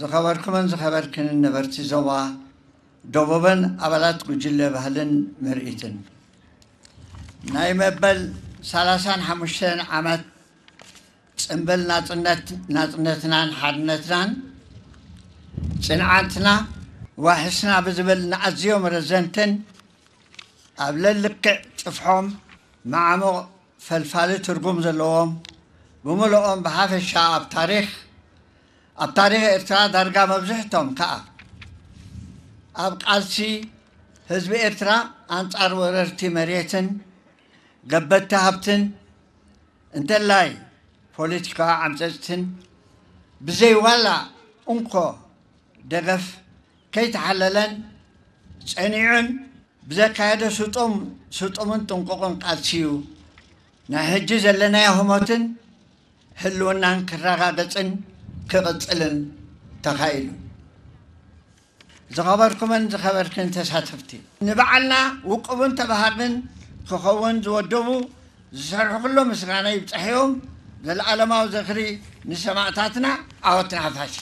ዝኸበርኩምን ዝኸበርክንን ነበርቲ ዞባ ደቡብን ኣባላት ጉጅለ ባህልን ምርኢትን፣ ናይ መበል ሰላሳን ሓሙሽተን ዓመት ጽንብል ናጽነት፣ ናጽነትናን ሓድነትናን ጽንዓትና ዋሕስና ብዝብል ንኣዝዮም ረዘንትን ኣብ ለልክዕ ጽፍሖም መዓሙቕ ፈልፋሊ ትርጉም ዘለዎም ብምልኦም ብሓፈሻ ኣብ ታሪኽ፣ ኣብ ታሪኽ ኤርትራ ዳርጋ መብዝሕቶም ከኣ ኣብ ቃልሲ ህዝቢ ኤርትራ ኣንጻር ወረርቲ መሬትን ገበቲ ሃብትን እንተላይ ፖለቲካዊ ዓምጸጽትን ብዘይ ዋላ እንኮ ደገፍ ከይተሓለለን ጸኒዑን ብዘካየዶ ስጡም፣ ስጡምን ጥንቁቕን ቃልሲ እዩ ናይ ሕጂ ዘለናዮ ህሞትን ህልውናን ክረጋገጽን ክቕጽልን ተኻኢሉ። ዝኸበርኩምን ዝኸበርክን ተሳተፍቲ፣ ንበዓልና ውቁብን ተባሃግን ክኸውን ዝወደቡ ዝሰርሑ ኩሎም ምስጋና ይብጻሕዮም። ዘለኣለማዊ ዝኽሪ ንሰማእታትና፣ ዓወት ንሓፋሽ።